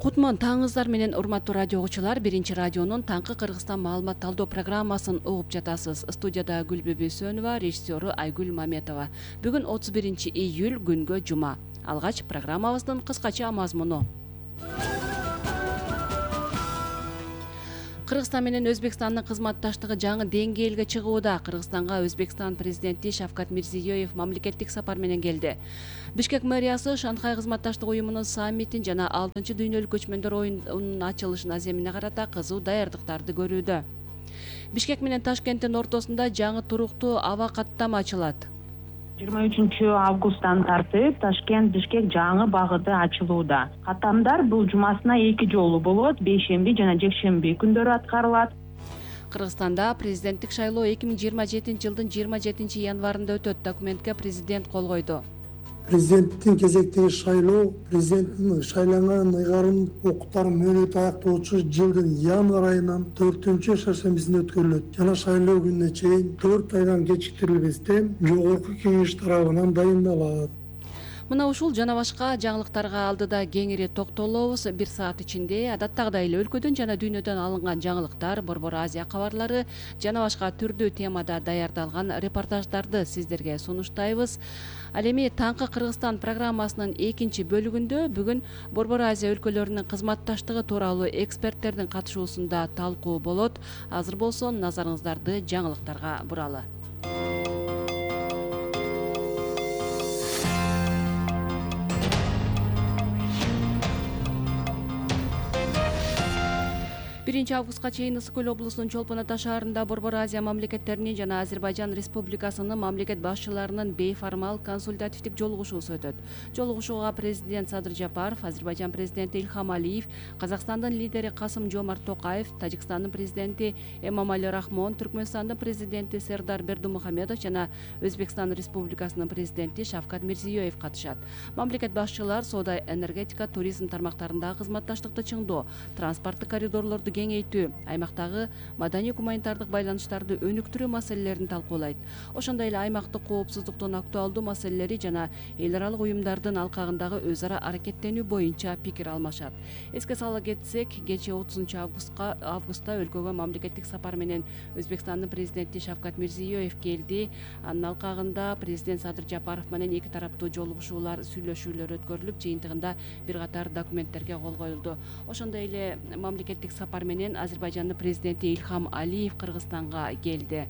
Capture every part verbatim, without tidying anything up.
Кутман таңыңыздар менен урматтуу радио угуучулар, биринчи радионун таңкы Кыргызстан маалымат талдоо программасын угуп жатасыз. Студияда Гүлбү Бейсөнова, режиссеру Айгүл Маметова. Бүгүн отуз биринчи июль, күнгө жума. Алгач программабыздын кыскача мазмуну. Кыргызстан менен Өзбекстандын кызматташтыгы жаңы деңгээлге чыгууда. Кыргызстанга Өзбекстан президенти Шавкат Мирзиёев мамлекеттик сапар менен келди. Бишкек мэриясы Шанхай кызматташтык уюмунун саммитин жана алтынчы дүйнөлүк көчмөндөр оюнунун ачылышын аземине карата кызуу даярдыктарды көрүүдө. Бишкек менен Ташкенттин ортосунда жаңы туруктуу аба каттама ачылат. жыйырма үчүнчү августтан тартып Ташкент Бишкек жаңы багыты ачылууда. Каттамдар бул жумасына эки жолу болот, бейшемби жана жекшемби күндөрү аткарылат. Кыргызстанда президенттик шайлоо эки миң жыйырма жетинчи жылдын жыйырма жетинчи январында өтөт. Документке президент кол койду. Президенттин кезектеги шайлоо президенттин шайланган ыйгарым укуктарын мөөнөтү аяктоочу жылдын январь айынын төртүнчү шаршембисинде өткөрүлөт жана шайлоо күнүнө чейин төрт айдан кечиктирилбестен жогорку кеңеш тарабынан дайындалат. Мына ушул жана башка жаңылыктарга алдыда кеңири токтолобуз. Бир саат ичинде адаттагыдай эле өлкөдөн жана дүйнөдөн алынган жаңылыктар, Борбор Азия кабарлары жана башка түрдүү темада даярдалган репортаждарды сиздерге сунуштайбыз. Ал эми таңкы Кыргызстан программасынын экинчи бөлүгүндө бүгүн Борбор Азия өлкөлөрүнүн кызматташтыгы тууралуу эксперттердин катышуусунда талкуу болот. Азыр болсо назарыңыздарды жаңылыктарга буралы. биринчи августка чейин Ысык Көл облусунун Чолпон Ата шаарында Борбор Азия мамлекеттеринин жана Азербайжан Республикасынын мамлекет башчыларынын бейформал консультативдик жолугушуусу өтөт. Жолугушууга президент Садыр Жапаров, Азербайжан президенти Илхам Алиев, Казакстандын лидери Касым Жомарт Токаев, Тажикстандын президенти Эмомали Рахмон, Түркмөнстандын президенти Сердар Бердымухамедов жана Өзбекстан Республикасынын президенти Шавкат Мирзиёев катышат. Мамлекет башчылар соода, энергетика, туризм тармактарындагы кызматташтыкты чыңдоо, транспорттук коридорлорду кеңейтүү, аймактагы маданий-гуманитардык байланыштарды өнүктүрүү маселелерин талкуулайт. Ошондой эле аймактык коопсуздуктун актуалдуу маселелери жана эл аралык уюмдардын алкагындагы өз ара аракеттенүү боюнча пикир алмашат. Эске сала кетсек, кечээ отузунчу августка августта өлкөгө мамлекеттик сапар менен Өзбекстандын президенти Шавкат Мирзиёев келди. Анын алкагында президент Садыр Жапаров менен эки тараптуу жолугушуулар, сүйлөшүүлөр өткөрүлүп, жыйынтыгында бир катар документтерге кол коюлду. Ошондой эле мамлекеттик сапар менен Азербайжандын президенти Илхам Алиев Кыргызстанга келди.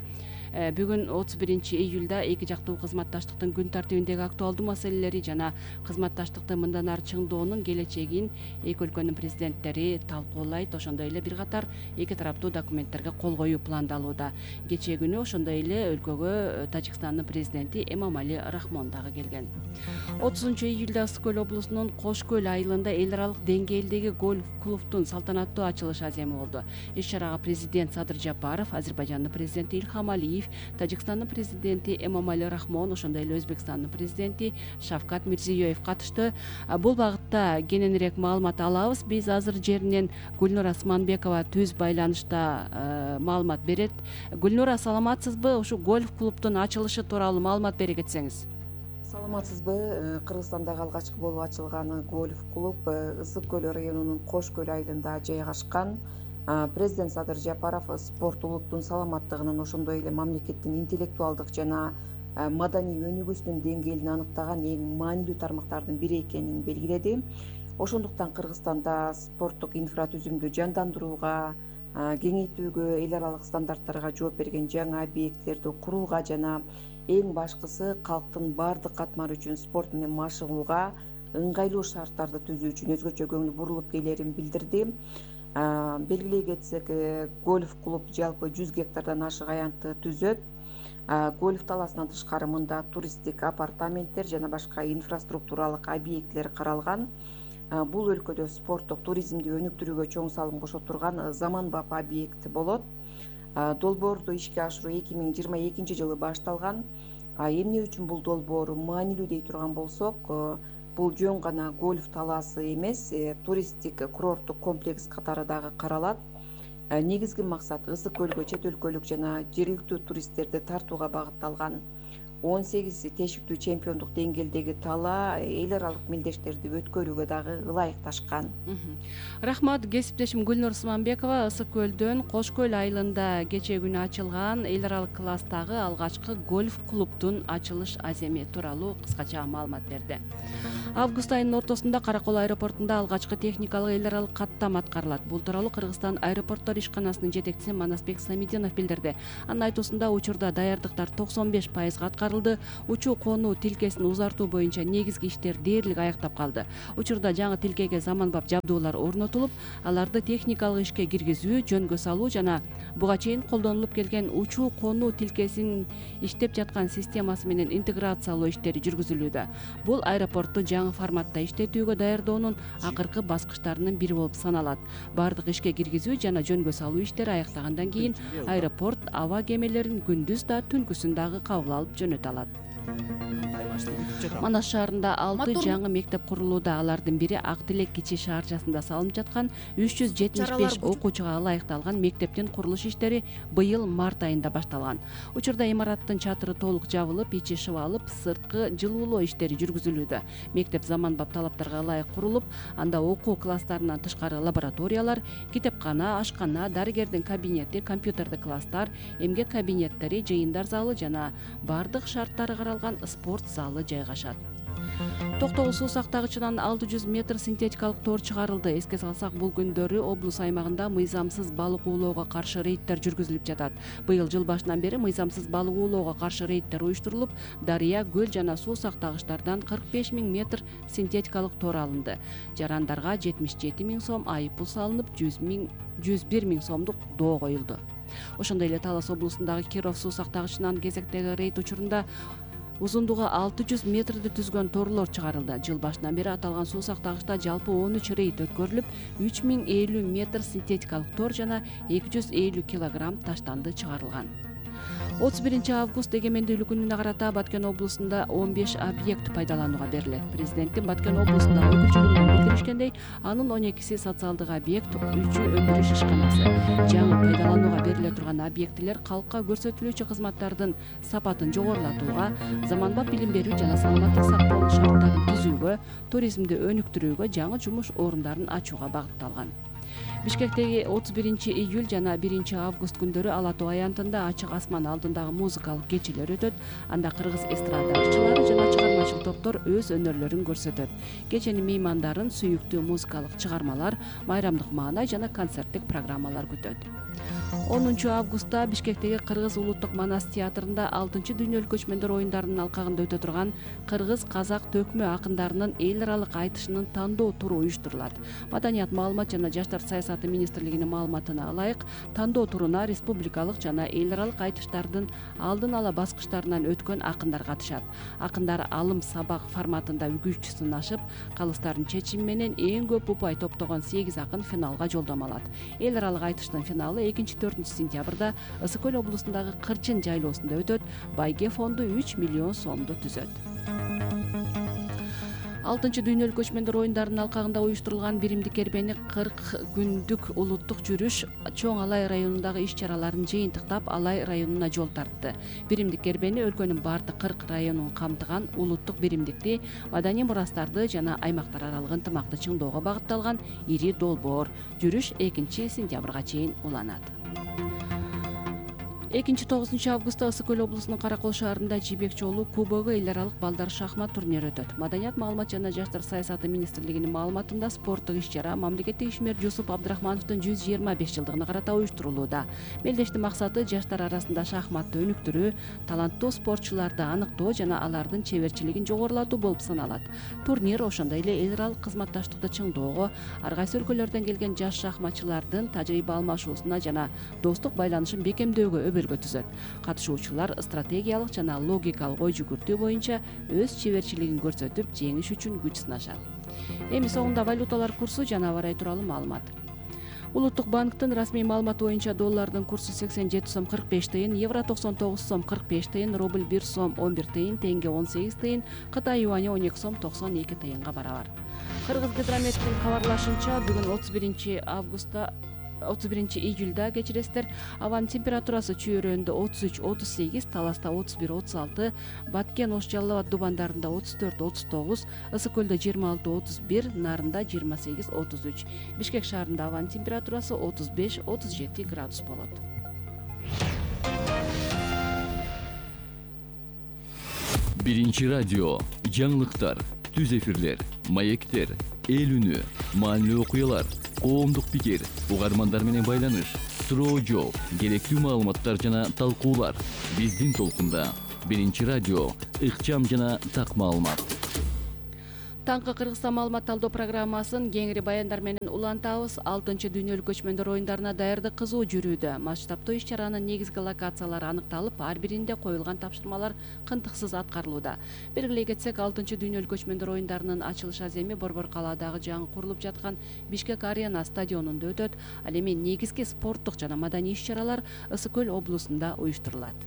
Бүгүн отуз биринчи июлда эки жактуу кызматташтыктын күн тартибиндеги актуалдуу маселелери жана кызматташтыкты мындан ары чыңдоонун келечегин эки өлкөнүн президенттери талкуулайт. Ошондой эле бир катар эки тараптуу документтерге кол коюу пландалууда. Кечээ күнү ошондой эле өлкөгө Тажикстандын президенти Эмомали Рахмон дагы келген. отузунчу июлда Ысык Көл облусунун Кош Көл айылында эл аралык деңгээлдеги гольф клубтун салтанаттуу ачылышы аземи болду. Иш чарага президент Садыр Жапаров, Азербайжандын президенти Илхам Алиев, Тажикстандын президенти Эмомали Рахмон, ошондой эле Өзбекстандын президенти Шавкат Мирзиёев катышты. Бул багытта кененирээк маалымат алабыз. Биз азыр жеринен Гүлнур Асманбекова түз байланышта маалымат берет. Гүлнур, саламатсызбы? Ушу гольф клубтун ачылышы тууралуу маалымат бере кетсеңиз. Саламатсызбы? Кыргызстандагы алгачкы болуп ачылган гольф клуб Ысык Көл районунун Кош Көл айылында жайгашкан. Президент Садыр Жапаров спорт улуттун саламаттыгынын, ошондой эле мамлекеттин интеллектуалдык жана маданий өнүгүүсүнүн деңгээлин аныктаган эң маанилүү тармактардын бири экенин белгиледи. Ошондуктан Кыргызстанда спорттук инфратүзүмдү жандандырууга, кеңейтүүгө, эл аралык стандарттарга жооп берген жаңы объекттерди курууга жана эң башкысы калктын баардык катмары үчүн спорт менен машыгууга ыңгайлуу шарттарды түзүү үчүн өзгөчө көңүл бурулуп келерин билдирди. Белгилей кетсек, гольф клуб жалпы жүз гектардан ашык аянтты түзөт. Гольф талаасынан тышкары мында туристтик апартаменттер жана башка инфраструктуралык объектилер каралган. Бул өлкөдө спорттук туризмди өнүктүрүүгө чоң салым кошо турган заманбап объект болот. Долбоорду ишке ашыруу эки миң жыйырма экинчи жылы башталган. Эмне үчүн бул долбоор маанилүү дей турган болсок, бул жөн гана гольф талаасы эмес, туристтик курорттук комплекс катары дагы каралат. Негизги максат Ысык Көлгө чет өлкөлүк жана жергиликтүү туристтерди тартууга багытталган. он сегиз тешиктүү чемпиондук деңгээлдеги талаа эл аралык мелдештерди өткөрүүгө дагы ылайыкташкан. Рахмат. Кесиптешим Гүлнур Сыманбекова Ысык көлдөн Кош көл айылында кечээ күнү ачылган эл аралык класстагы алгачкы гольф клубдун ачылыш аземи тууралуу кыскача маалымат берди. Август айынын ортосунда Каракол аэропортунда алгачкы техникалык эл аралык каттам аткарылат. Бул тууралуу Кыргызстан аэропорттор ишканасынын жетекчиси Манасбек Самидинов билдирди. Анын айтуусунда учурда даярдыктар токсон беш пайызга аткарылды. Учуу конуу тилкесин узартуу боюнча негизги иштер дээрлик аяктап калды. Учурда жаңы тилкеге заманбап жабдуулар орнотулуп, аларды техникалык ишке киргизүү, жөнгө салуу жана буга чейин колдонулуп келген учуу конуу тилкесинин иштеп жаткан системасы менен интеграциялоо иштери жүргүзүлүүдө. Бул аэропортту жаңы форматта иштетүүгө даярдоонун акыркы баскычтарынын бири болуп саналат. Бардык ишке киргизүү жана жөнгө салуу иштери аяктагандан кийин аэропорт аба кемелерин күндүз да түнкүсүн дагы кабыл алып жөнөтө алат. Манас шаарында алты жаңы мектеп курулууда. Алардын бири Ак Тилек кичи шаарчасында салынып жаткан үч жүз жетимиш беш окуучуга ылайыкталган мектептин курулуш иштери быйыл март айында башталган. Учурда имараттын чатыры толук жабылып, ичи шыбалып, сырткы жылуулоо иштери жүргүзүлүүдө. Мектеп заманбап талаптарга ылайык курулуп, анда окуу класстарынан тышкары лабораториялар, китепкана, ашкана, дарыгердин кабинети, компьютердик класстар, эмгек кабинеттери, жыйындар залы жана бардык шарттары каралган спорт залы жайгашат. Токтогул суу сактагычынан алты жүз метр синтетикалык тор чыгарылды. Эске салсак, бул күндөрү облус аймагында мыйзамсыз балык уулоого каршы рейдтер жүргүзүлүп жатат. Быйыл жыл башынан бери мыйзамсыз балык уулоого каршы рейдтер уюштурулуп, дарыя, көл жана суу сактагычтардан кырк беш миң метр синтетикалык тор алынды. Жарандарга жетимиш жети миң сом айып пул салынып, жүз бир миң сомдук доо коюлду. Ошондой эле Талас облусундагы Киров суу сактагычынан кезектеги рейд учурунда узундугу алты жүз метрди түзгөн торлор чыгарылды. Жыл башынан бери аталган суу сактагычта жалпы он үч рейд өткөрүлүп, үч миң элүү метр синтетикалык тор жана эки жүз элүү килограмм таштанды чыгарылган. отуз биринчи август эгемендүүлүк күнүнө карата Баткен облусунда он беш объект пайдаланууга берилет. Президенттин Баткен облусундагы өкүлчүлүгүнөн билдиришкендей, анын он экиси социалдык объект, үчү өндүрүш ишканасы. Жаңы пайдаланууга бериле турган объектилер калкка көрсөтүлүүчү кызматтардын сапатын жогорулатууга, заманбап билим берүү жана саламаттык сактоонун шарттарын түзүүгө, туризмди өнүктүрүүгө, жаңы жумуш орундарын ачууга багытталган. Бишкектеги отуз биринчи июль жана биринчи август күндөрү Ала Тоо аянтында ачык асман алдындагы музыкалык кечелер өтөт. Анда кыргыз эстрадачылары жана чыгармачыл топтор өз өнөрлөрүн көрсөтөт. Кеченин меймандарын сүйүктүү музыкалык чыгармалар, майрамдык маанай жана концерттик программалар күтөт. онунчу августта Бишкектеги Кыргыз улуттук Манас театрында алтынчы дүйнөлүк көчмөндөр оюндарынын алкагында өтө турган кыргыз казак төкмө акындарынын эл аралык айтышынын тандоо туру уюштурулат. Маданият, маалымат жана жаштар саясаты министрлигинин маалыматына ылайык, тандоо туруна республикалык жана эл аралык айтыштардын алдын ала баскычтарынан өткөн акындар катышат. Акындар алым сабак форматында күч сынашып, калыстардын чечими менен эң көп упай топтогон сегиз акын финалга жолдомо алат. Эл аралык айтыштын финалы экинчи төртүнчү сентябрда Ысык көл облусундагы Кырчын жайлоосунда өтөт. Байге фонду үч миллион сомду түзөт. алтынчы дүйнөлүк көчмөндөр оюндарынын алкагында уюштурулган биримдик кербени кырк күндүк улуттук жүрүш Чоң Алай районундагы иш-чараларын жыйынтыктап Алай районуна жол тартты. Биримдик кербени өлкөнүн бардык кырк районун камтыган улуттук биримдикти, маданий мурастарды жана аймактар аралык ынтымакты чыңдоого багытталган ири долбоор. Жүрүш экинчи сентябрга чейин уланат. экинчи тогузунчу августта Ысык көл облусунун Каракол шаарында Жибек жолу кубогу эл аралык балдар шахмат турнири өтөт. Маданият, маалымат жана жаштар саясаты министрлигинин маалыматында спорттук иш-чара мамлекеттик ишмер Жусуп Абдрахмановдун жүз жыйырма беш жылдыгына карата уюштурулууда. Мелдештин максаты жаштар арасында шахматты өнүктүрүү, таланттуу спортчуларды аныктоо жана алардын чеберчилигин жогорулатуу болуп саналат. Турнир ошондой эле эл аралык кызматташтыкты чыңдоого, ар кайсы өлкөлөрдөн келген жаш шахматчылардын тажрыйба алмашуусуна жана достук байланышын бекемдөөгө түзөт. Катышуучулар стратегиялык жана логикалык ой жүгүртүү боюнча өз чеберчилигин көрсөтүп, жеңиш үчүн күч сынашат. Эми соңунда валюталар курсу жана аба ырайы тууралуу маалымат. Улуттук банктын расмий маалыматы боюнча доллардын курсу сексен жети сом кырк беш тыйын, евро токсон тогуз сом кырк беш тыйын, рубль бир сом он бир тыйын, тенге он сегиз тыйын, Кытай юани он эки сом токсон эки тыйынга барабар. Кыргыз гидрометтин кабарлашынча, бүгүн отуз биринчи августта отуз биринчи июлда кечиресиздер. Абанын температурасы Чүйөрөндө отуз үч отуз сегиз, Таласта отуз бир отуз алты, Баткен, Ош Жалал Абад дубандарында отуз төрт отуз тогуз, Ысык көлдө жыйырма алты отуз бир, Нарында жыйырма сегиз отуз үч. Бишкек шаарында абанын температурасы отуз беш отуз жети градус болот. Биринчи радио, жаңылыктар, түз эфирлер, маектер, эл үнү, маанилүү окуялар, коомдук пикир, угармандар менен байланыш, суроо жооп, керектүү маалыматтар жана талкуулар. Биздин толкунда Биринчи радио, ыкчам жана так маалымат. Таңкы Кыргызстан маалымат талдоо программасын кеңири баяндар менен улантабыз. алтынчы дүйнөлүк көчмөндөр оюндарына даярдык кызуу жүрүүдө. Масштабтуу иш-чаранын негизги локациялары аныкталып, ар биринде коюлган тапшырмалар кынтыксыз аткарылууда. Белгилей кетсек, алтынчы дүйнөлүк көчмөндөр оюндарынын ачылыш аземи Борбор калаадагы жаңы курулуп жаткан Бишкек Арена стадионунда өтөт. Ал эми негизги спорттук жана маданий иш-чаралар Ысык көл облусунда уюштурулат.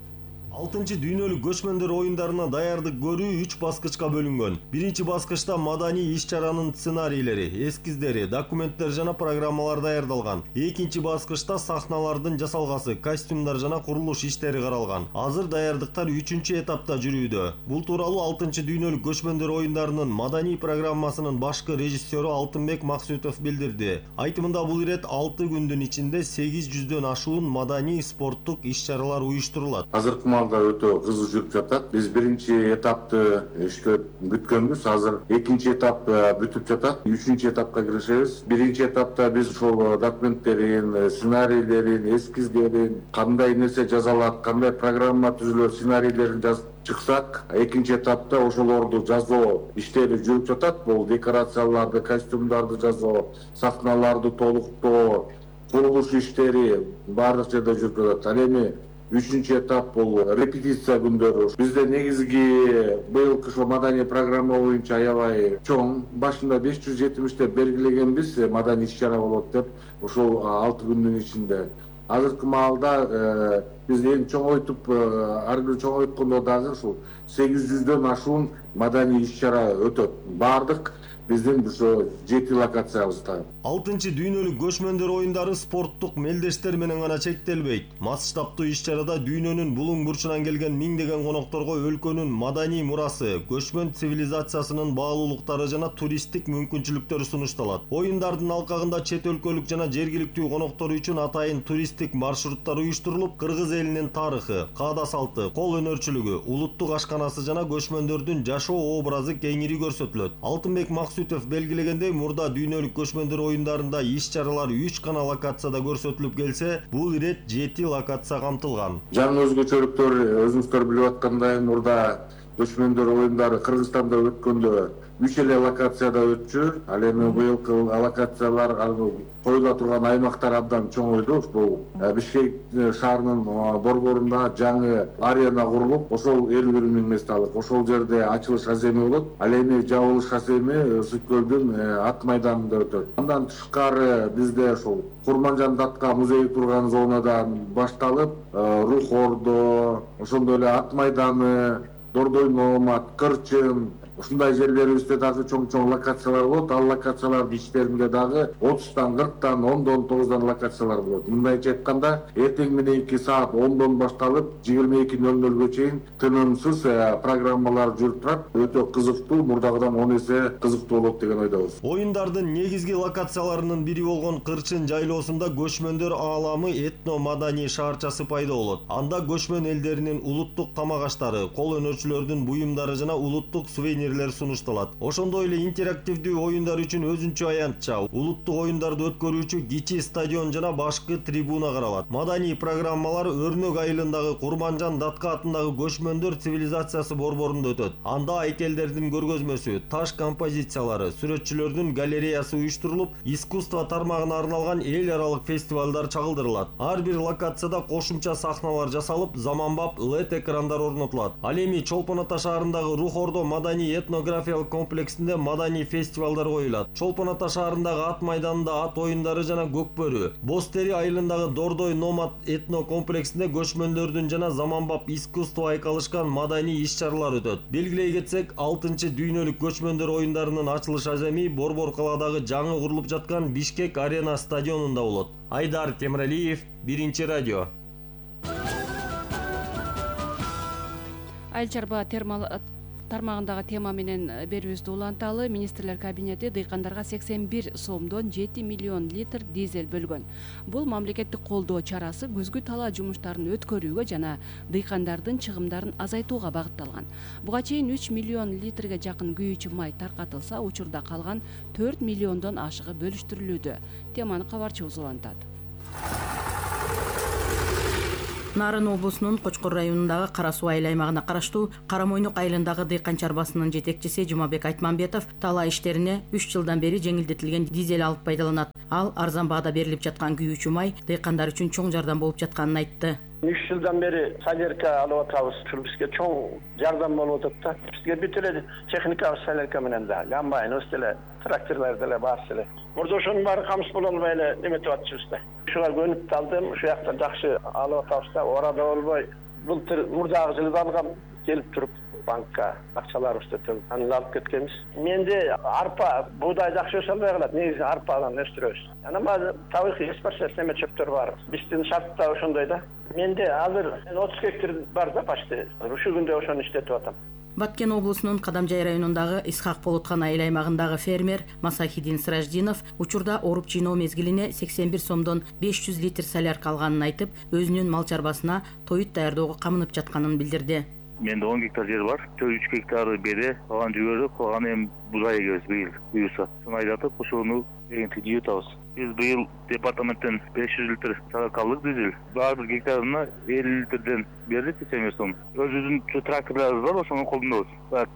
алтынчы дүйнөлүк көчмөндөр оюндарына даярдык көрүү үч баскычка бөлүнгөн. Биринчи баскычта маданий иш-чаранын сценарийлери, эскиздери, документтер жана программалар даярдалган. Экинчи баскычта сахналардын жасалгасы, костюмдар жана курулуш иштери каралган. Азыр даярдыктар үчүнчү этапта жүрүүдө. Бул тууралуу алтынчы дүйнөлүк көчмөндөр оюндарынын маданий программасынын башкы режиссеру Алтынбек Максутов билдирди. Айтымында бул ирет алты күндүн ичинде сегиз жүздөн ашуун маданий спорттук иш-чаралар уюштурулат. Азыркы өтө кызуу жүрүп жатат. Биз биринчи этапты иштеп бүткөнбүз. Азыр экинчи этап бүтүп жатат. Үчүнчү этапка киришебиз. Биринчи этапта биз ошол документтерин, сценарийлерин, эскиздерин, кандай нерсе жазалат, кандай программа түзүлөт, сценарийлерин жазып чыксак, экинчи этапта ошолорду жазуу иштери жүрүп жатат. Бул декорацияларды, костюмдарды жазуу, сахналарды толуктоо, курулуш иштери баардык жерде жүрүп жатат. Ал эми үчүнчү этап бул репетиция күндөрү. Бизде негизги быйылкы ошо маданий программа боюнча аябай чоң. Башында беш жүз жетимиш деп белгилегенбиз, маданий иш-чара болот деп, ошол алты күндүн ичинде. Азыркы маалда биз эң чоңойтуп, ар бир чоңойткондо дагы ушул сегиз жүздөн ашуун маданий иш-чара өтөт. Бардык биздин ошо жети локациябызда. алтынчы дүйнөлүк көчмөндөр оюндары спорттук мелдештер менен гана чектелбейт. Масштабтуу иш-чарада дүйнөнүн булуң бурчунан келген миңдеген конокторго өлкөнүн маданий мурасы, көчмөн цивилизациясынын баалуулуктары жана туристтик мүмкүнчүлүктөрү сунушталат. Оюндардын алкагында чет өлкөлүк жана жергиликтүү коноктор үчүн атайын туристтик маршруттар уюштурулуп, кыргыз элинин тарыхы, каада салты, кол өнөрчүлүгү, улуттук ашканасы жана көчмөндөрдүн жашоо образы кеңири көрсөтүлөт. Алтынбек Максутов белгилегендей, мурда дүйнөлүк көчмөндөр оюндарында иш-чаралар үч гана локацияда көрсөтүлүп келсе, бул ирет жети локация камтылган. Жаңы өзгөчөлүктөр өзүңүздөр билип аткандай, мурда көчмөндөр оюндары Кыргызстанда өткөндө үч эле локацияда өтчү. Ал эми быйылкы локациялар коюла турган аймактар абдан чоңойду. Бул Бишкек шаарынын борборунда жаңы арена курулуп, ошол элүү бир миң месталык. Ошол жерде ачылыш аземи болот. Ал эми жабылыш аземи Ысык көлдүн ат майданында өтөт. Андан тышкары бизде ошол Курманжан Датка музейи турган зонадан башталып, Рух Ордо, ошондой эле ат майданы, Дордой Номат, Кырчын, ушундай жерлерибизде дагы чоң-чоң локациялар болот. Ал локациялардын ичтеринде дагы отуздан, кырктан, ондон, тогуздан локациялар болот. Мындайча айтканда, эртең мененки саат ондон башталып, жыйырма эки нөл нөлгө чейин тынымсыз программалар жүрүп турат. Өтө кызыктуу, мурдагыдан он эсе кызыктуу болот деген ойдобуз. Оюндардын негизги локацияларынын бири болгон Кырчын жайлоосунда көчмөндөр ааламы этно-маданий шаарчасы пайда болот. Анда көчмөн элдеринин улуттук тамак аштары, кол өнөрчүлөрдүн буюмдары жана улуттук сувенир сунушталат. Ошондой эле интерактивдүү оюндар үчүн өзүнчө аянтча, улуттук оюндарды өткөрүүчү кичи стадион жана башкы трибуна каралат. Маданий программалар Өрнөк айылындагы Курманжан Датка атындагы көчмөндөр цивилизациясы борборунда өтөт. Анда айкелдердин көргөзмөсү, таш композициялары, сүрөтчүлөрдүн галереясы уюштурулуп, искусство тармагына арналган эл аралык фестивалдар чагылдырылат. Ар бир локацияда кошумча сахналар жасалып, заманбап лед экрандар орнотулат. Ал эми Чолпон Ата шаарындагы Рух Ордо маданий этнографиялык комплексинде маданий фестивалдар коюлат. Чолпон Ата шаарындагы ат майданында ат оюндары жана Көкбөрү, Боз Тери айылындагы Дордой Номад этно комплексинде көчмөндөрдүн жана заманбап искусство айкалышкан маданий иш-чаралар өтөт. Белгилей кетсек, алтынчы дүйнөлүк көчмөндөр оюндарынын ачылыш аземи Борбор калаадагы жаңы курулуп жаткан Бишкек Арена стадионунда болот. Айдар Темиралиев, Биринчи радио. Айыл чарба тармагындагы тема менен берүүбүздү уланталы. Министрлер кабинети дыйкандарга сексен бир сомдон жети миллион литр дизель бөлгөн. Бул мамлекеттик колдоо чарасы күзгү талаа жумуштарын өткөрүүгө жана дыйкандардын чыгымдарын азайтууга багытталган. Буга чейин үч миллион литрге жакын күйүүчү май таркатылса, учурда калган төрт миллиондон ашыгы бөлүштүрүлүүдө. Теманы кабарчыбыз улантат. Нарын облусунун Кочкор районундагы Кара Суу айыл аймагына караштуу Кара Мойнок айылындагы дыйкан чарбасынын жетекчиси Жумабек Айтманбетов талаа иштерине үч жылдан бери жеңилдетилген дизель алып пайдаланат. Ал арзан баада берилип жаткан күйүүчү май дыйкандар үчүн чоң жардам болуп жатканын айтты. үч жылдан бери солярка алып атабыз. Бизге чоң жардам болуп атат да. Бизге бүт эле техникабыз солярка менен да. Комбайныбыз деле, тракторлор деле бар эле. Мурда ошонун баары камсыз боло албай эле эметип атышыбыз да. Ушуга көнүп калдым. Ушул жакта жакшы алып атабыз да. Орада болбой, былтыр мурдагы жылы алгам келип туруп банкка акчаларыбызды төлөп анан алып кеткенбиз. Менде арпа, буудай жакшы өсө албай калат. Негизи арпадан өстүрөбүз. Анан табигый экспорт неме чөптөр бар. Биздин шарт да ошондой да. Менде азыр отуз гектар бар да почти. Ушул күндө ошону иштетип атам. Баткен облусунун Кадамжай районундагы Исхак Болоткан айыл аймагындагы фермер Масахидин Сираждинов учурда оруп жыйноо мезгилине сексен бир сомдон беш жүз литр солярка алганын айтып, өзүнүн мал чарбасына тоют даярдоого камынып жатканын билдирди. Менде он гектар жер бар. төрт үч гектары бере, калган жүгөрү, калган эми бузай эгебиз быйыл буюрса. Сону айдатып, ошону эгинтип жыйып атабыз. Биз быйыл департаменттен беш жүз литр солярка алдык дизель. Ар бир гектарына элүү литрден бердик сексен бир сом. Өзүбүздүн тракторлорубуз бар, ошону колдонобуз.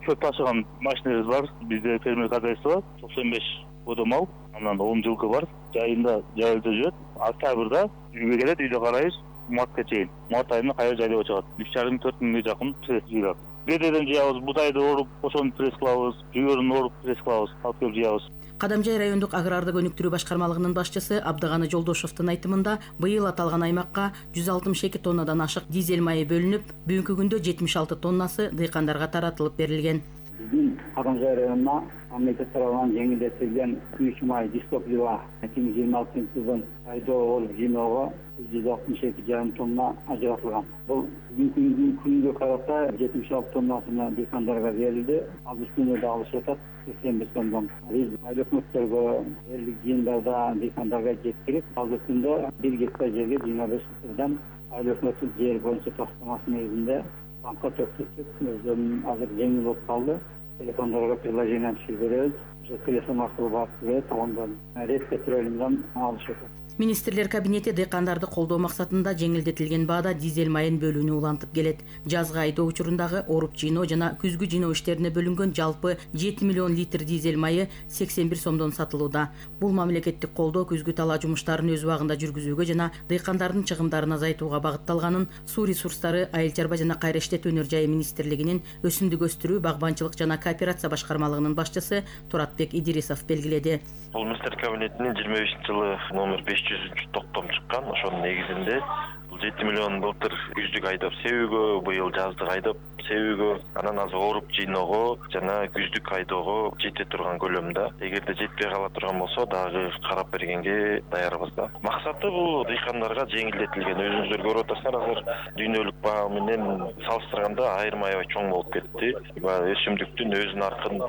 Чөп ташыган машиналарыбыз бар. Бизде фермер хозяйство токсон беш бодо мал, анан он жылкы бар. Жайында жайылда жүрөт. Октябрда үйгө келет, үйдө карайбыз. Мартка чейин. Март айында кайра жайлап чыгат. үч жарым төрт миңге жакын пресс жыйылат. Бедеден жыябыз, бутайды оруп, ошону пресс кылабыз, жүгөрүн оруп пресс кылабыз, алып келип жыябыз. Кадамжай райондук аграрды өнүктүрүү башкармалыгынын башчысы Абдыганы Жолдошовдун айтымында, быйыл аталган аймакка жүз алтымыш эки тоннадан ашык дизель майы бөлүнүп, бүгүнкү күндө жетимиш алты тоннасы дыйкандарга таратылып берилген. Биздин Кадамжай районуна мамлекет тарабынан жеңилдетилген күйүүчү май дистоплива эки миң жыйырма алтынчы жылдын айдоо болуп жыйноого жүз алтымыш эки жарым тонна ажыратылган. Бул бүгүнкү күнгө карата жетимиш алты тоннасына дыйкандарга берилди. Ал үстүнө да алышып атат сексен бир сомдон. Биз айыл өкмөттөргө элдик жыйындарда дыйкандарга жеткирип, ал үстүндө бир гектар жерге жыйырма беш литрден айыл өкмөттүн жер боюнча тастамасы негизинде банкка төктүрүп, өзүнүн азыр жеңил болуп калды. Телефондорго приложение түшүрүп беребиз. Ошо телефон аркылуу барып берет, ондан рет петролиумдан алышат. Министрлер кабинети дыйкандарды колдоо максатында жеңилдетилген баада дизель майын бөлүүнү улантып келет. Жазгы айдоо учурундағы оруп жыйноо жана күзгү жыйноо иштерине бөлүнгөн жалпы жети миллион литр дизель майы сексен бир сомдон сатылууда. Бул мамлекеттик колдоо күзгү талаа жумуштарын өз убагында жүргүзүүгө жана дыйкандардын чыгымдарын азайтууга багытталганын Суу ресурстары, айыл чарба жана кайра иштетүү өнөр жайы министрлигинин өсүмдүк өстүрүү, багбанчылык жана кооперация башкармалыгынын башчысы Туратбек Идирисов белгиледи. Бул министрлер кабинетинин жыйырма бешинчи жылы номер беш жүзүнчү токтом чыккан. Ошонун негизинде бул жети миллион былтыр күздүк айдап себүүгө, быйыл жаздык айдап себүүгө, анан азыр оруп жыйноого жана күздүк айдоого жете турган көлөмдө. Эгерде жетпей кала турган болсо дагы карап бергенге даярбыз да. Максаты бул дыйкандарга жеңилдетилген. Өзүңүздөр көрүп атасыздар, азыр дүйнөлүк баа менен салыштырганда айырма аябай чоң болуп кетти. Өсүмдүктүн өз наркын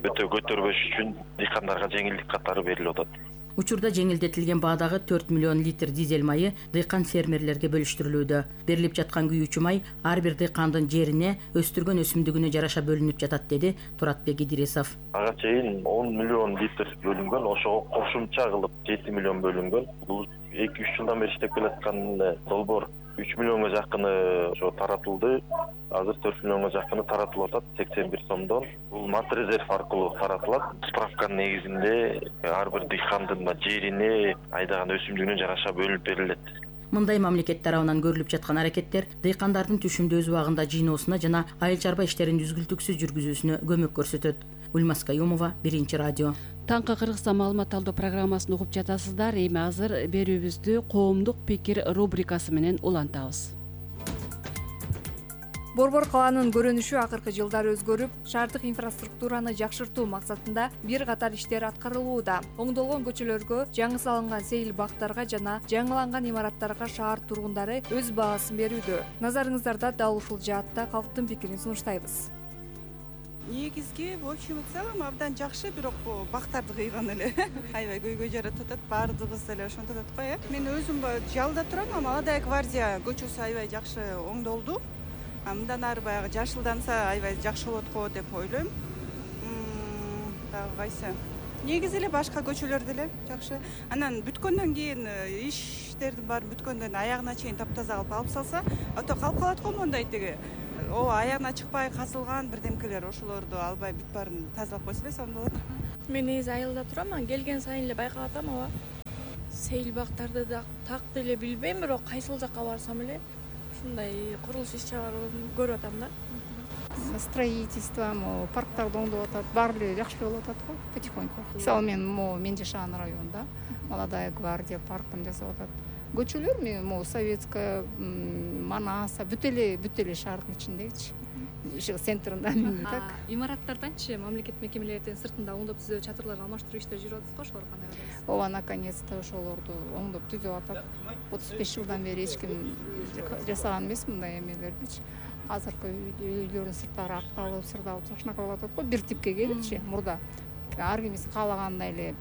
өтө көтөрбөш үчүн дыйкандарга жеңилдик катары берилип атат. Учурда жеңилдетилген баадагы төрт миллион литр дизель майы дыйкан фермерлерге бөлүштүрүлүүдө. Берилип жаткан күйүүчү май ар бир дыйкандын жерине, өстүргөн өсүмдүгүнө жараша бөлүнүп жатат, деди Туратбек Идирисов. Ага чейин он миллион литр бөлүнгөн, ошого кошумча кылып жети миллион бөлүнгөн. Бул эки үч жылдан бери иштеп келаткан долбоор үч миллионго жакыны ошо таратылды. Азыр төрт миллионго жакыны таратылып атат сексен бир сомдон. Бул матрезерв аркылуу таратылат. Справканын негизинде ар бир дыйкандын жерине, айдаган өсүмдүгүнө жараша бөлүнүп берилет. Мындай мамлекет тарабынан көрүлүп жаткан аракеттер дыйкандардын түшүмдүү өз убагында жыйноосуна жана айыл чарба иштерин үзгүлтүксүз жүргүзүүсүнө көмөк көрсөтөт. Гүлмаз Каюмова, Биринчи радио. Таңкы Кыргызстан маалымат алуу программасын угуп жатасыздар. Эми азыр берүүбүздү коомдук пикир рубрикасы менен улантабыз. Борбор калаанын көрүнүшү акыркы жылдары өзгөрүп, шаардык инфраструктураны жакшыртуу максатында бир катар иштер аткарылууда. Оңдолгон көчөлөргө, жаңы салынган сейил бактарга жана жаңыланган имараттарга шаар тургундары өз баасын берүүдө. Назарыңыздарда дал ушул жаатта калктын пикирин сунуштайбыз. Негизги, в общем и целом абдан жакшы, бирок бактарды кыйган эле. Аябай көйгөй жаратып атат, баардыгыбыз эле ошентип атат го, э. Мен өзүм жалда турам, а Молодая гвардия көчөсү аябай жакшы оңдолду. Мындан ары баягы жашылданса аябай жакшы болот го деп ойлойм. Дагы кайсы? Негизи эле башка көчөлөр деле жакшы. Анан бүткөндөн кийин иштердин баары бүткөндөн аягына чейин таптаза кылып алып салса, ото калып калат го мондай тиги. О, аягына чыкпай казылган бирдемкелер, ошолорду албай бүт баарын тазалап койсо эле сонун болот. Мен негизи айылда турам, келген сайын эле байкап атам, ооба. Сейил бактарды да так деле билбейм, бирок кайсыл жакка барсам эле ушундай курулуш иш чараларын көрүп атам да. Строительство, парктарды оңдоп атат, баары эле жакшы болуп атат го, потихоньку. Мисалы мен мен жашаган районда Молодая гвардия паркын жасап атат. Көчөлөр мен Советская, Манаса, бүт эле бүт эле шаардын ичиндегичи. Центринда так. Имараттарданчы мамлекет мекемелердин сыртында оңдоп түзөө чатырларды алмаштыруу иштери жүрүп атат го, ошолор кандай кылабыз? Ооба, наконец-то ошолорду оңдоп түзөп атат. отуз беш жылдан бери эч ким жасаган эмес мындай эмелердичи. Азыркы үйлөрдүн сырттары акталып, сырдалып, жакшынака болуп атат го, бир типке келипчи мурда. Ар кимиз каалагандай эле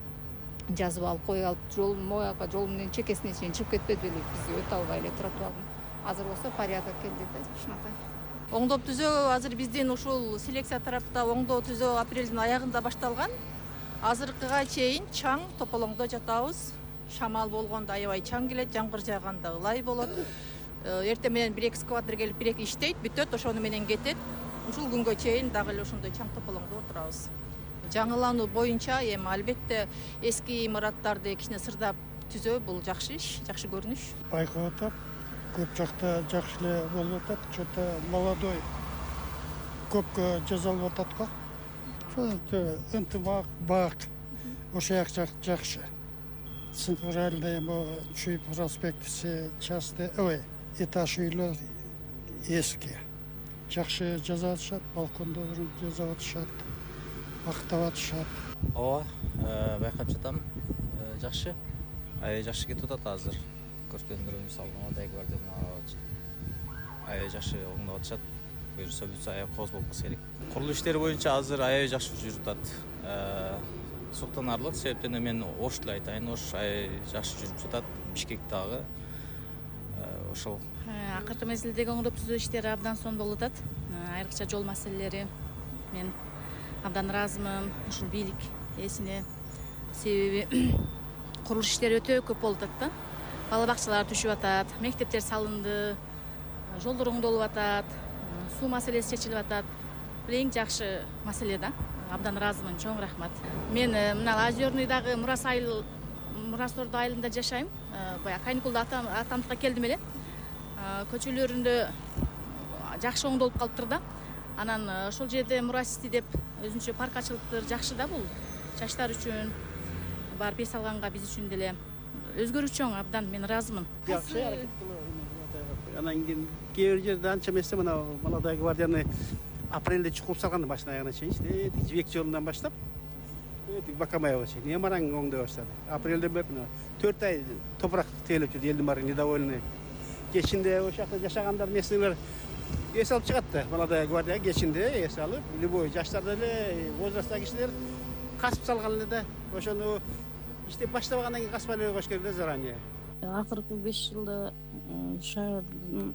жазып алып, коюп алып, жол мояка жол менен чекесине чейин чыгып кетпеди беле, биз өтө албай эле тротуардын. Азыр болсо порядок келди да, жакшынакай. Оңдоп түзөө азыр биздин ушул селекция тарапта оңдоо түзөө апрелдин аягында башталган. Азыркыга чейин чаң тополоңдо жатабыз. Шамал болгондо аябай чаң келет, жамгыр жааганда ылай болот. Эртең менен бир экскаватор келип бир эки иштейт, бүтөт, ошону менен кетет. Ушул күнгө чейин дагы эле ошондой чаң тополоңдо отурабыз. Жаңылануу боюнча эми албетте эски имараттарды кичине сырдап түзөө бул жакшы иш, жакшы көрүнүш. Байкап атам, көп жакта жакшы эле болуп атат, что-то молодой көпкө жасалып атат го. Ошо ынтымак, бак, ошо жак жакшы. Центральный эми Чуй проспектиси части, ой, этаж үйлөр эски. Жакшы жасап атышат, балкондорун жасап атышат. Актап атышат. Ооба, байкап жатам. Жакшы. Аябай жакшы кетип атат азыр. Көргөндөрүм мисалы Молодая гвардияны аябай жакшы оңдоп атышат. Буюрса бүтсө аябай кооз болуп калса керек. Курулуш иштери боюнча азыр аябай жакшы жүрүп атат. Суктанарлык себептен мен Ош деле айтайын, Ош аябай жакшы жүрүп жатат. Бишкек дагы ошол. Акыркы мезгилдеги оңдоп түзөө иштери абдан сонун болуп атат. Айрыкча жол маселелери. Мен абдан ыраазымын ушул бийлик ээсине. Себеби курулуш иштери өтө көп болуп атат да. Бала бакчалар түшүп атат, мектептер салынды, жолдор оңдолуп атат, суу маселеси чечилип атат. Бул эң жакшы маселе да. Абдан ыраазымын, чоң рахмат. Мен мына Озерныйдагы Мурас айыл, Мурас Ордо айылында жашайм. Баягы каникулда атамдыкка келдим эле. Көчөлөрүндө жакшы оңдолуп калыптыр да. Анан ошол жерде Мурасти деп өзүнчө парк ачылыптыр, жакшы да бул. Жаштар үчүн, барып эс алганга биз үчүн деле өзгөрүү чоң, абдан мен ыраазымын. Жакшы аракет кылып. Анан кийин кээ бир жерде анча эмес мына Молодая гвардияны апрелде чукуп салган башынан аягына чейин, Жибек жолунан баштап, Бакамаева чейин немараң оңдой баштады. Апрелден бери мына төрт ай топурак тегелеп жүрдү, элдин баары недовольный. Кечинде ошол жакта жашагандар несилер эс алып чыгат да, Молодая гвардия кечинде эс алып, любой жаштар деле, возрасттагы кишилер касып салган эле да. Ошону иштеп баштабагандан кийин каспай эле койуш керек да заранее. Акыркы беш жылда шаардын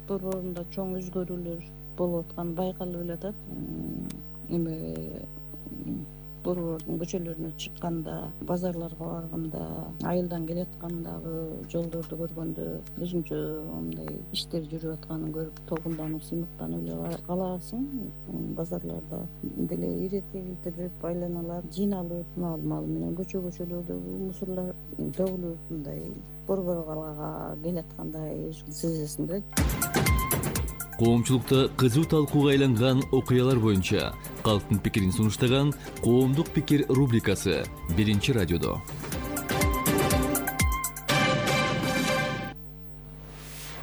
борборунда чоң өзгөрүүлөр болуп атканы байкалып эле атат. Эми борбордун көчөлөрүнө чыкканда, базарларга барганда, айылдан келаткандагы жолдорду көргөндө өзүнчө мындай иштер жүрүп атканын көрүп толкунданып, сыймыктанып эле каласың. Базарларда деле ирет-ирет айланалар жыйналып, мал менен көчө көчөлөрдөгү мусорлор төгүлүп, мындай борборго келаткандай сезесиң да. Коомчулукта кызуу талкууга айланган окуялар боюнча калктын пикирин сунуштаган Коомдук пикир рубрикасы биринчи радиодо.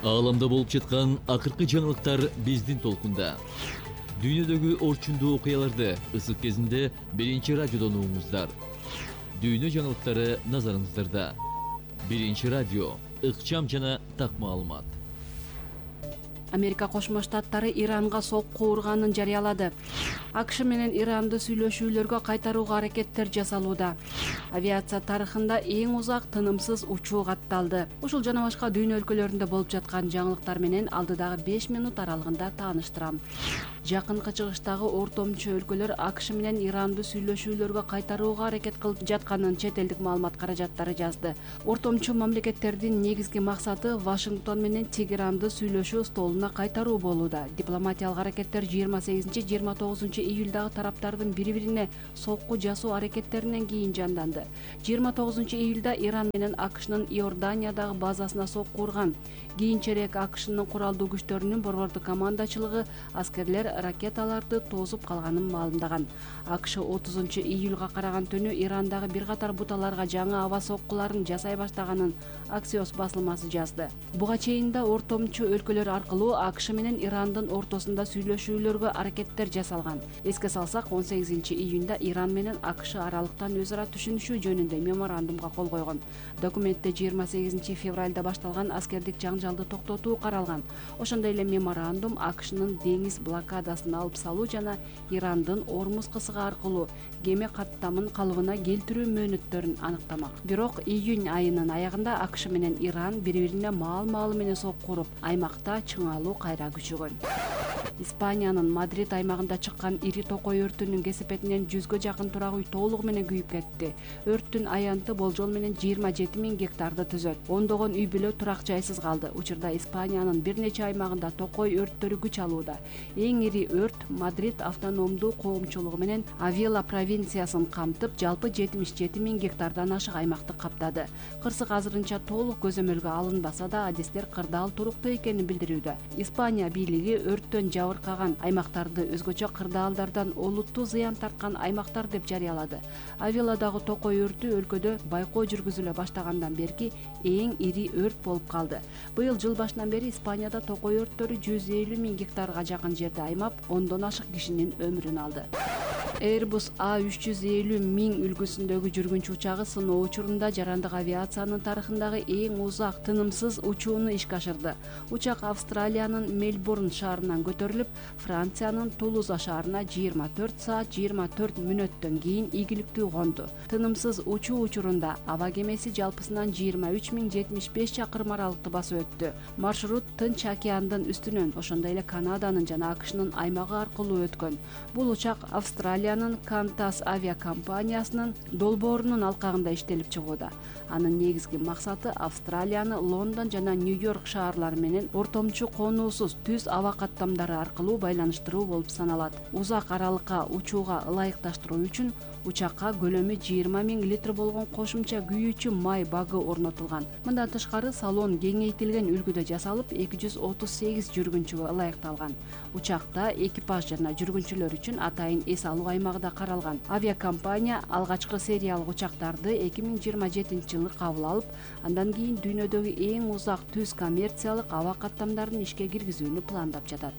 Ааламда болуп жаткан акыркы жаңылыктар биздин толкунда. Дүйнөдөгү орчундуу окуяларды ысык кезинде биринчи радиодон угуңуздар. Дүйнө жаңылыктары назарыңыздарда. Биринчи радио, ыкчам жана так маалымат. Америка Кошмо Штаттары Иранга сокку урганын жарыялады. АКШ менен Иранды сүйлөшүүлөргө кайтарууга аракеттер жасалууда. Авиация тарыхында эң узак тынымсыз учуу катталды. Ушул жана башка дүйнө өлкөлөрүндө болуп жаткан жаңылыктар менен алдыдагы беш минут аралыгында тааныштырам. Жакынкы чыгыштагы ортомчу өлкөлөр АКШ менен Иранды сүйлөшүүлөргө кайтарууга аракет кылып жатканын чет элдик маалымат каражаттары жазды. Ортомчу мамлекеттердин негизги максаты Вашингтон менен Тегеранды сүйлөшүү столуна кайтаруу болууда. Дипломатиялык аракеттер жыйырма сегизинчи жыйырма тогузунчу июлдагы тараптардын бири-бирине сокку жасоо аракеттеринен кийин жанданды. жыйырма тогузунчу июлда Иран менен АКШнын Иорданиядагы базасына сокку урган. Кийинчерээк АКШнын куралдуу күчтөрүнүн борбордук командачылыгы аскерлер ракеталарды тосуп калганын маалымдаган. АКШ отузунчу июлга караган түнү Ирандагы бир катар буталарга жаңы аба соккуларын жасай баштаганын Axios басылмасы жазды. Буга чейин да ортомчу өлкөлөр аркылуу АКШ менен Ирандын ортосунда сүйлөшүүлөргө аракеттер жасалган. Эске салсак, он сегизинчи июнда Иран менен АКШ аралыктан өз ара түшүнүшүү жөнүндө меморандумга кол койгон. Документте жыйырма сегизинчи февралда башталган аскердик жаңжалды токтотуу каралган. Ошондой эле меморандум АКШнын деңиз блокадасын алып салуу жана Ирандын Ормуз кысыгы аркылуу кеме каттамын калыбына келтирүү мөөнөттөрүн аныктамак. Бирок июнь айынын аягында АКШ менен Иран бири-бирине маал-маалы менен сокку уруп, аймакта чыңалуу кайра күчөгөн. Испаниянын Мадрид аймагында чыккан ири токой өртүнүн кесепетинен жүзгө жакын турак үй толугу менен күйүп кетти. Өрттүн аянты болжол менен жыйырма жети миң гектарды түзөт. Ондогон үй бүлө турак жайсыз калды. Учурда Испаниянын бир нече аймагында токой өрттөрү күч алууда. Эң ири өрт Мадрид автономдуу коомчулугу менен Авила провинциясын камтып, жалпы жетимиш жети миң гектардан ашык аймакты каптады. Кырсык азырынча толук көзөмөлгө алынбаса да, адистер кырдаал туруктуу экенин билдирүүдө. Испания бийлиги өрттөн жабыркаган аймактарды өзгөчө кырдаалдардан олуттуу зыян тарткан аймактар деп жарыялады. Авиладагы токой өртү өлкөдө байкоо жүргүзүлө баштагандан берки эң ири өрт болуп калды. Быйыл жыл башынан бери Испанияда токой өрттөрү жүз элүү миң гектарга жакын жерде аймап, ондон ашык кишинин өмүрүн алды. Airbus A үч жүз элүү миң үлгүсүндөгү жүргүнчү учагы сыноо учурунда жарандык авиациянын тарыхындагы эң узак тынымсыз учууну ишке ашырды. Учак Австралиянын Мельбурн шаарынан көтөрүлүп, Франциянын Тулуза шаарына жыйырма төрт саат жыйырма төрт мүнөттөн кийин ийгиликтүү конду. Тынымсыз учуу учурунда аба кемеси жалпысынан жыйырма үч миң жетимиш беш чакырым аралыкты басып өттү. Маршрут Тынч океандын үстүнөн, ошондой эле Канаданын жана АКШнын аймагы аркылуу өткөн. Бул учак Австралиянын Qantas авиакомпаниясынын долбоорунун алкагында иштелип чыгууда. Анын негизги максаты Австралияны Лондон жана Нью-Йорк шаарлары менен ортомчу конуусуз түз аба каттамдары аркылуу байланыштыруу болуп саналат. Узак аралыкка учууга ылайыкташтыруу үчүн учакка көлөмү жыйырма миң литр болгон кошумча күйүүчү май багы орнотулган. Мындан тышкары салон кеңейтилген үлгүдө жасалып, эки жүз отуз сегиз жүргүнчүгө ылайыкталган. Учакта экипаж жана жүргүнчүлөр үчүн атайын эс алуу аймагы да каралган. Авиакомпания алгачкы сериялык учактарды эки миң жыйырма жетинчи жылы кабыл алып, андан кийин дүйнөдөгү эң узак түз коммерциялык аба каттамдарын ишке киргизүүнү пландап жатат.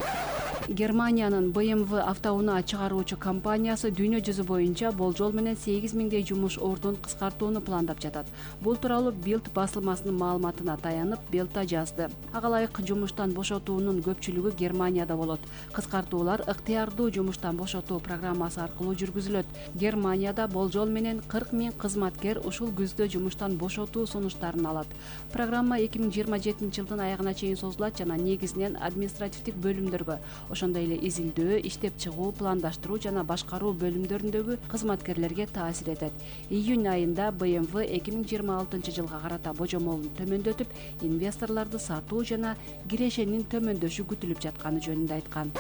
Германиянын бэ эм вэ автоунаа чыгаруучу компаниясы дүйнө жүзү боюнча болжол менен сегиз миңдей жумуш ордун кыскартууну пландап жатат. Бул тууралуу Bild басылмасынын маалыматына таянып, Bild жазды. Ага ылайык жумуштан бошотуунун көпчүлүгү Германияда болот. Кыскартуулар ыктыярдуу жумуштан бошотуу программасы аркылуу жүргүзүлөт. Германияда болжол менен кырк миң кызматкер ушул күздө жумуштан бошотуу сунуштарын алат. Программа эки миң жыйырма жетинчи жылдын аягына чейин созулат жана негизинен административдик бөлүмдөргө, ошондой эле изилдөө, иштеп чыгуу, пландаштыруу жана башкаруу бөлүмдөрүндөгү кызмат кызматкерлерге таасир этет. Июнь айында бэ эм вэ эки миң жыйырма алтынчы жылга карата божомолун төмөндөтүп, инвесторлорду сатуу жана кирешенин төмөндөшү күтүлүп жатканы жөнүндө айткан.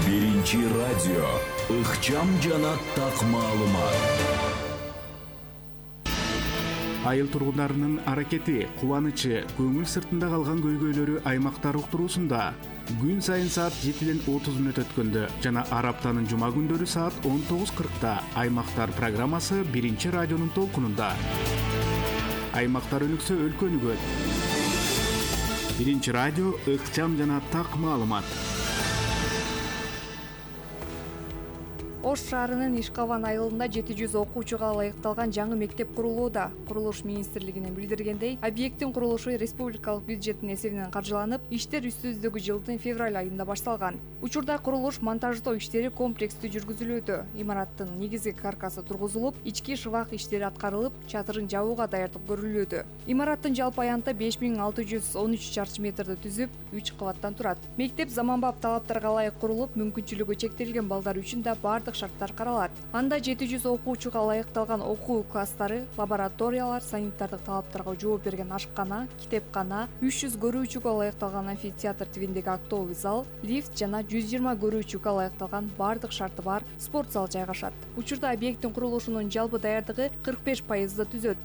Биринчи радио ыкчам жана так маалымат. Айыл тургундарынын аракети, кубанычы, көңүл сыртында калган көйгөйлөрү аймактар уктуруусунда күн сайын саат жетиден отуз мүнөт өткөндө жана ар аптанын жума күндөрү саат он тогуз кыркта Аймактар программасы Биринчи радионун толкунунда. Аймактар өнүксө өлкө өнүгөт. Биринчи радио ыкчам жана так маалымат. Ош шаарынын Ишкаван айылында жети жүз окуучуга ылайыкталган жаңы мектеп курулууда. Курулуш министрлигинин билдиргендей, объекттин курулушу республикалык бюджеттин эсебинен каржыланып, иштер үстүбүздөгү жылдын февраль айында башталган. Учурда курулуш монтаждоо иштери комплекстүү жүргүзүлүүдө. Имараттын негизги каркасы тургузулуп, ички шыбак иштери аткарылып, чатырын жабууга даярдык көрүлүүдө. Имараттын жалпы аянты беш миң алты жүз он үч чарчы метрди түзүп, үч кабаттан турат. Мектеп заманбап талаптарга ылайык курулуп, мүмкүнчүлүгү чектелген балдар үчүн да бардык шарттар каралат. Анда жети жүз окуучуга ылайыкталган окуу класстары, лабораториялар, санитардык талаптарга жооп берген ашкана, китепкана, үч жүз көрүүчүгө ылайыкталган амфитеатр тибиндеги актовый зал, лифт жана жүз жыйырма көрүүчүгө ылайыкталган бардык шарты бар спорт зал жайгашат. Учурда объекттин курулушунун жалпы даярдыгы кырк беш пайызды түзөт.